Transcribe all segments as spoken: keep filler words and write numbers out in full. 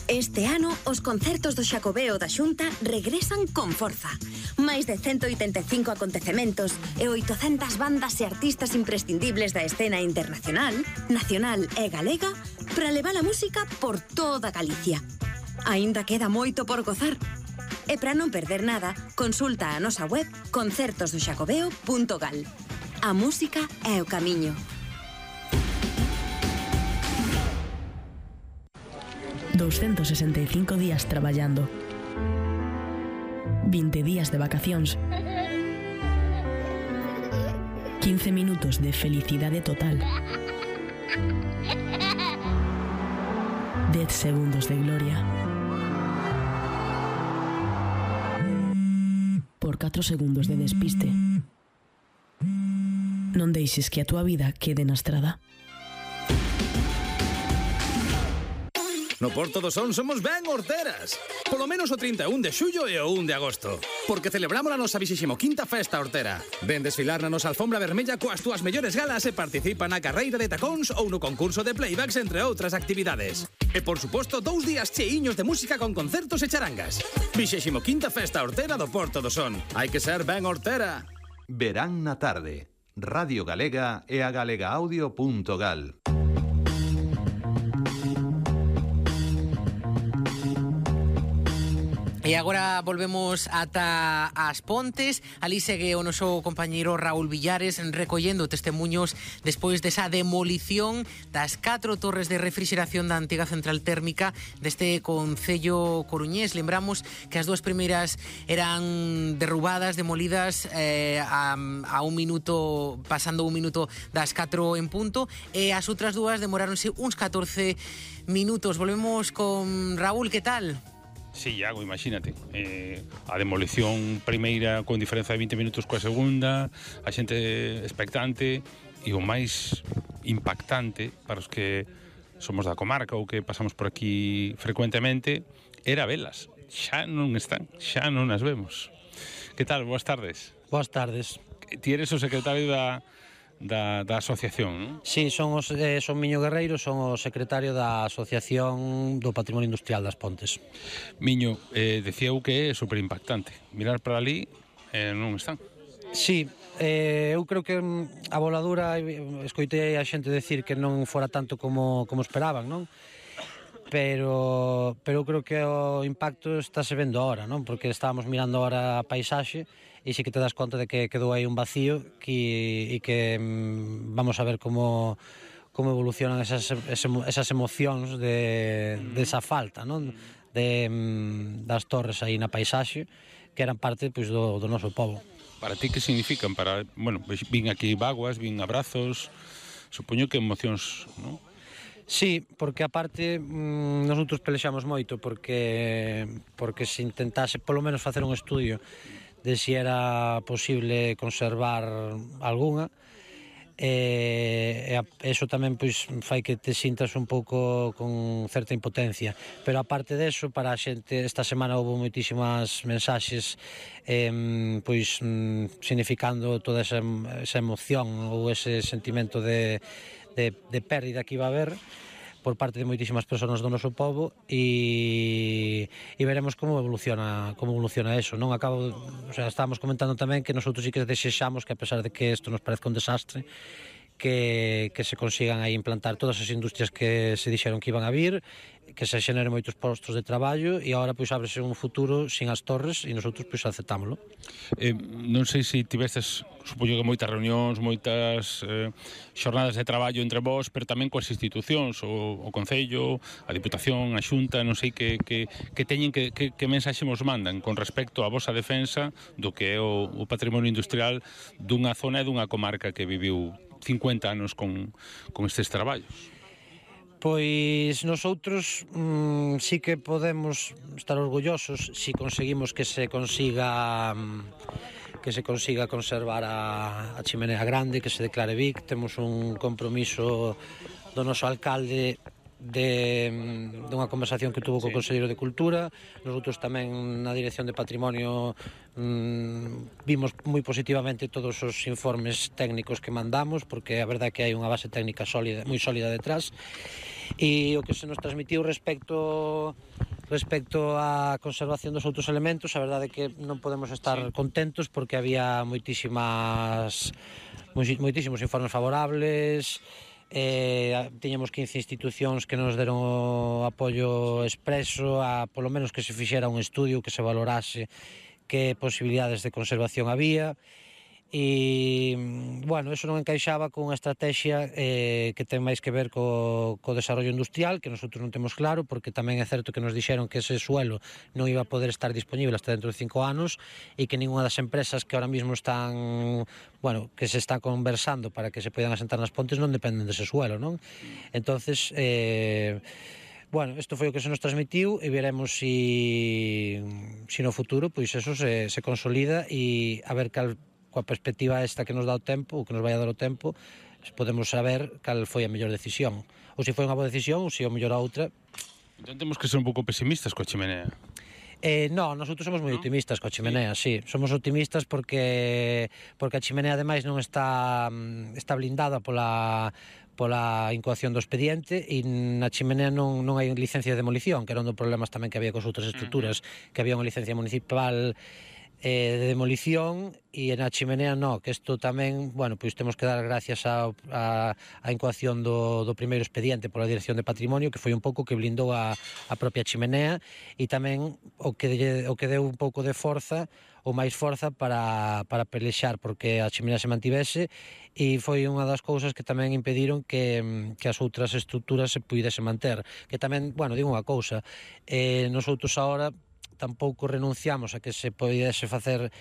Este ano, os concertos do Xacobeo da Xunta regresan con forza. Máis de ciento oitenta e cinco acontecementos e oitocentas bandas e artistas imprescindibles da escena internacional, nacional e galega para levar a música por toda Galicia. Aínda queda moito por gozar. E para non perder nada, consulta a nosa web concertos do xacobeo punto gal. A música é o camiño. doscientos sesenta e cinco días traballando, vinte días de vacacións, quince minutos de felicidade total, dez segundos de gloria, por catro segundos de despiste. Non deixes que a túa vida quede na estrada. No Porto do Son somos ben horteras. Polo menos o trinta e un de xullo e o un de agosto. Porque celebramos a nosa vixésima quinta festa hortera. Ven desfilar na nosa alfombra vermella coas túas mellores galas e participa na carreira de tacóns ou no concurso de playbacks, entre outras actividades. E, por suposto, dous días cheiños de música con concertos e charangas. vixésima quinta festa hortera do Porto do Son. Hai que ser ben hortera. Verán na tarde. Radio Galega e a galegaaudio punto gal. E agora volvemos ata as Pontes. Ali segue o noso compañeiro Raúl Villares recollendo testemunhos despois desa demolición das catro torres de refrigeración da antiga central térmica deste concello coruñés. Lembramos que as dúas primeiras eran derrubadas, demolidas eh, a, a un minuto, pasando un minuto das catro en punto, e as outras dúas demoráronse uns catorce minutos. Volvemos con Raúl, que tal? Sí, Iago, imagínate, eh, a demolición primeira con diferenza de vinte minutos coa segunda, a xente expectante, e o máis impactante para os que somos da comarca ou que pasamos por aquí frecuentemente era velas. Xa non están, xa non as vemos. Que tal? Boas tardes. Boas tardes. Ti eres o secretario da Da, da asociación, non? Sí, son, os, eh, son Miño Guerreiro, son o secretario da Asociación do Patrimonio Industrial das Pontes. Miño, eh, decía eu que é super impactante. Mirar para ali, eh, non están. Sí, eh, eu creo que a voladura, escoitei a xente decir que non fora tanto como, como esperaban, non? Pero, pero eu creo que o impacto está se vendo ahora, non? Porque estábamos mirando ahora a paisaxe e sí que te das conta de que quedou aí un vacío que, e que mm, vamos a ver como, como evolucionan esas, esas emocións de, de esa falta, non? De, mm, das torres aí na paisaxe que eran parte pois, do, do noso pobo. Para ti que significan? Para, bueno, vin aquí vaguas, vin abrazos, supoño que emocións, non? Sí, porque aparte mmm, nosotros pelexamos moito porque porque se intentase polo menos facer un estudio de si era posible conservar algunha, e, e eso tamén pois fai que te sintas un pouco con certa impotencia, pero aparte deso, para a xente esta semana houve moitísimas mensaxes eh, pois significando toda esa, esa emoción ou ese sentimento de, de, de pérdida que iba a haber por parte de moitísimas persoas do noso pobo, e, e veremos como evoluciona como evoluciona eso, non? Acabo, o sea, estábamos comentando tamén que nosotros sí que desexamos que, a pesar de que isto nos parezca un desastre, que, que se consigan aí implantar todas as industrias que se dixeron que iban a vir, que se xeneren moitos postos de traballo, e agora pois ábrese un futuro sin as torres e nosotros pois aceptámoslo. Eh, non sei se tivestes, supoño que moitas reunións, moitas eh, xornadas de traballo entre vós, pero tamén coas institucións, o, o Concello, a Diputación, a Xunta, non sei que, que, que teñen, que, que, que mensaxe vos mandan con respecto á vosa defensa do que é o, o patrimonio industrial dunha zona e dunha comarca que viviu cincuenta anos con, con estes traballos. Pois nosotros mmm, sí que podemos estar orgullosos si conseguimos que se consiga que se consiga conservar a, a chimenea grande, que se declare V I C. Temos un compromiso do noso alcalde de dunha conversación que tuvo co Conselleiro de Cultura. Nosotros tamén na Dirección de Patrimonio mmm, vimos moi positivamente todos os informes técnicos que mandamos, porque a verdade é que hai unha base técnica sólida, moi sólida detrás. E o que se nos transmitiu respecto respecto á conservación dos outros elementos, a verdade é que non podemos estar sí. contentos porque había moitísimas moitísimos informes favorables. Eh, tiñamos quince institucións que nos deron o apoio expreso a polo menos que se fixera un estudio que se valorase que posibilidades de conservación había e, bueno, eso non encaixaba con unha estrategia eh, que ten máis que ver co, co desarrollo industrial, que nosotros non temos claro, porque tamén é certo que nos dixeron que ese suelo non iba a poder estar disponible hasta dentro de cinco anos e que ninguna das empresas que ahora mismo están, bueno, que se están conversando para que se poidan asentar nas pontes non dependen dese suelo, non? Entonces, eh, bueno, isto foi o que se nos transmitiu e veremos si, si no futuro pois eso se, se consolida e a ver cal coa perspectiva esta que nos dá o tempo, ou que nos vai a dar o tempo, podemos saber cal foi a mellor decisión. Ou se foi unha boa decisión, ou se o mellor a outra. Entón temos que ser un pouco pesimistas coa chimenea. Eh, no, nosotros somos moi optimistas coa chimenea, sí. sí. Somos optimistas porque porque a chimenea ademais non está está blindada pola pola incoación do expediente e na chimenea non, non hai licencia de demolición, que era un dos problemas tamén que había cos outras estruturas, uh-huh. que había unha licencia municipal eh, de demolición e na chimenea non, que isto tamén, bueno, pois temos que dar gracias a, a, a incoación do, do primeiro expediente pola Dirección de Patrimonio, que foi un pouco que blindou a, a propia chimenea e tamén o que, o que deu un pouco de forza ou máis forza para, para pelexar porque a chimenea se mantivese e foi unha das cousas que tamén impediron que, que as outras estruturas se puidese manter, que tamén, bueno, digo unha cousa, eh, nosotros agora tampouco renunciamos a que se podese facer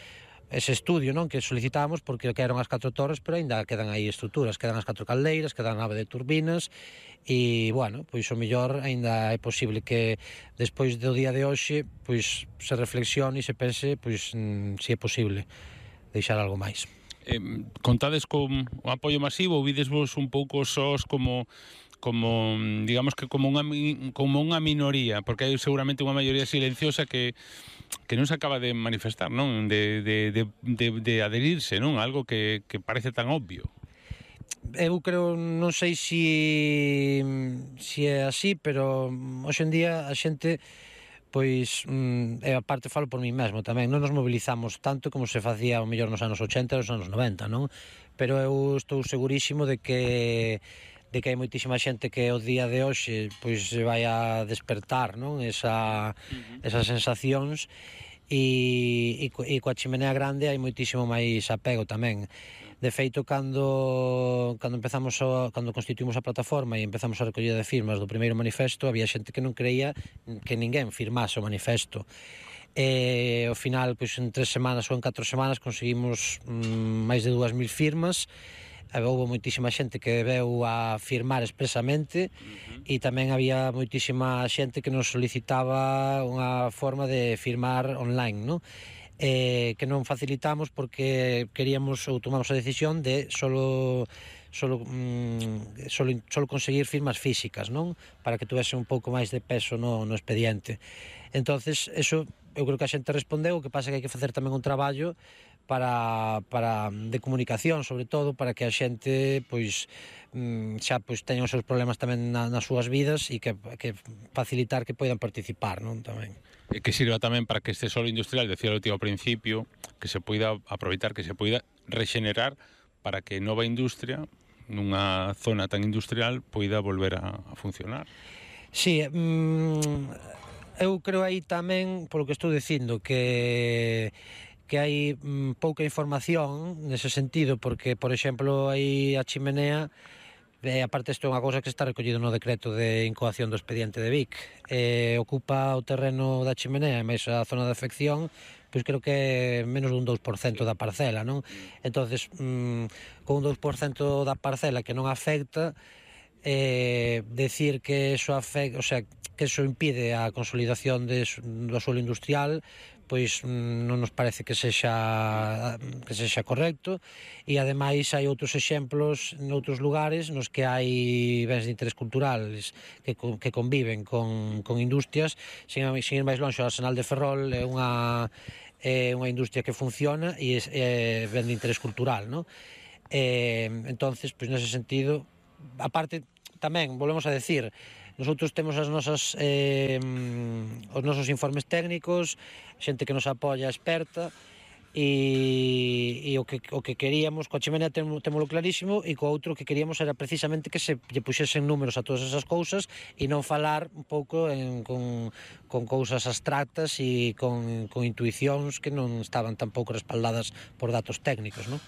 ese estudio, non, que solicitábamos porque quedaron as catro torres, pero aínda quedan aí estruturas, quedan as catro caldeiras, quedan a nave de turbinas e, bueno, pois o mellor aínda é posible que despois do día de hoxe pois se reflexione e se pense pois mm, se é posible deixar algo máis. Eh, contades con o apoio masivo ou videsvos un pouco sós como como, digamos que como unha, como unha minoría, porque hai seguramente unha maioría silenciosa que que non se acaba de manifestar, non? De, de, de, de, de adherirse, non? Algo que, que parece tan obvio. Eu creo, non sei si, si é así, pero hoxe en día a xente, pois, e a parte falo por mí mesmo tamén, non nos mobilizamos tanto como se facía o mellor nos anos ochenta e nos anos noventa, non? Pero eu estou segurísimo de que de que hai moitísima xente que o día de hoxe pois se vai a despertar, non? Esa, uh-huh. esas sensacións e, e, e coa chimenea grande hai moitísimo máis apego tamén. De feito, cando cando empezamos a, cando constituímos a plataforma e empezamos a recollida de firmas do primeiro manifesto, había xente que non creía que ninguén firmase o manifesto. E ao final, pois en tres semanas ou en catro semanas conseguimos mm, máis de dúas mil firmas. Houve moitísima xente que veu a firmar expresamente uh-huh. e tamén había moitísima xente que nos solicitaba unha forma de firmar online, non? Eh, que non facilitamos porque queríamos ou tomamos a decisión de solo solo, mm, solo, solo conseguir firmas físicas, non? Para que tuvese un pouco máis de peso no, no expediente. Entonces, eso eu creo que a xente respondeu, o que pasa que hai que facer tamén un traballo para, para de comunicación, sobre todo, para que a xente pois xa pois teña os seus problemas tamén na, nas súas vidas e que, que facilitar que poidan participar, non, tamén. E que sirva tamén para que este solo industrial, decía o tío ao principio, que se poida aproveitar, que se poida rexenerar para que nova industria nunha zona tan industrial poida volver a, a funcionar. Sí, mm, eu creo aí tamén, polo que estou dicindo, que que hai mm, pouca información nese sentido, porque, por exemplo, aí a chimenea, e aparte isto é unha cousa que está recollido no decreto de incoación do expediente de Vic, eh, ocupa o terreno da chimenea, máis a zona de afección, pois creo que é menos dun dous por cento da parcela, non? Entonces, mm, con un dous por cento da parcela que non afecta, eh, decir que eso afecta, o sea, que eso impide a consolidación de, do suelo industrial, pois non nos parece que sexa que sexa correcto e ademais hai outros exemplos noutros lugares nos que hai bens de interés culturales que, que conviven con, con industrias. Sin, sin ir máis longe, o Arsenal de Ferrol é unha, é unha industria que funciona e é, é ben de interés cultural, non? E, entonces, pois nese sentido, aparte tamén, volvemos a decir, Nosotros temos as nosas eh, os nosos informes técnicos, xente que nos apoia experta, e, e o, que, o que queríamos, coa chimenea temo, temolo clarísimo, e co outro que queríamos era precisamente que se lle puxesen números a todas esas cousas e non falar un pouco en, con, con cousas abstractas e con, con intuicións que non estaban tampouco respaldadas por datos técnicos, non?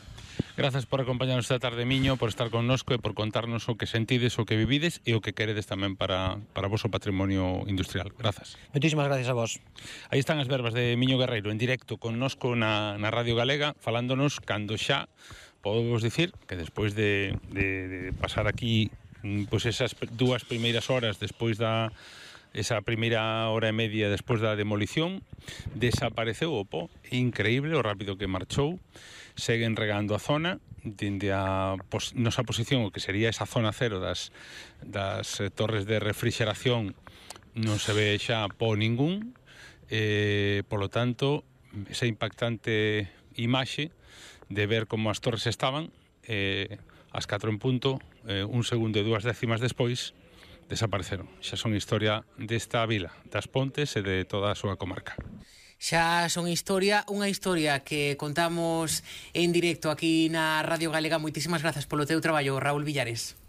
Grazas por acompañarnos esta tarde, Miño, por estar connosco e por contarnos o que sentides, o que vivides e o que queredes tamén para, para o vosso patrimonio industrial. Grazas. Moitísimas gracias a vos. Aí están as verbas de Miño Guerreiro en directo connosco na, na Radio Galega, falándonos cando xa podemos dicir que despois de, de, de pasar aquí pois esas dúas primeiras horas despois da esa primeira hora e media despois da demolición, desapareceu o po, increíble o rápido que marchou. Seguen regando a zona dende a pos, nosa posición, o que sería esa zona cero das, das eh, torres de refrigeración, non se ve xa po ningún, eh, polo tanto esa impactante imaxe de ver como as torres estaban eh, as catro en punto, eh, un segundo e dúas décimas despois desapareceron. Xa son historia desta vila, das Pontes e de toda a súa comarca. Xa son historia, unha historia que contamos en directo aquí na Radio Galega. Moitísimas grazas polo teu traballo, Raúl Villares.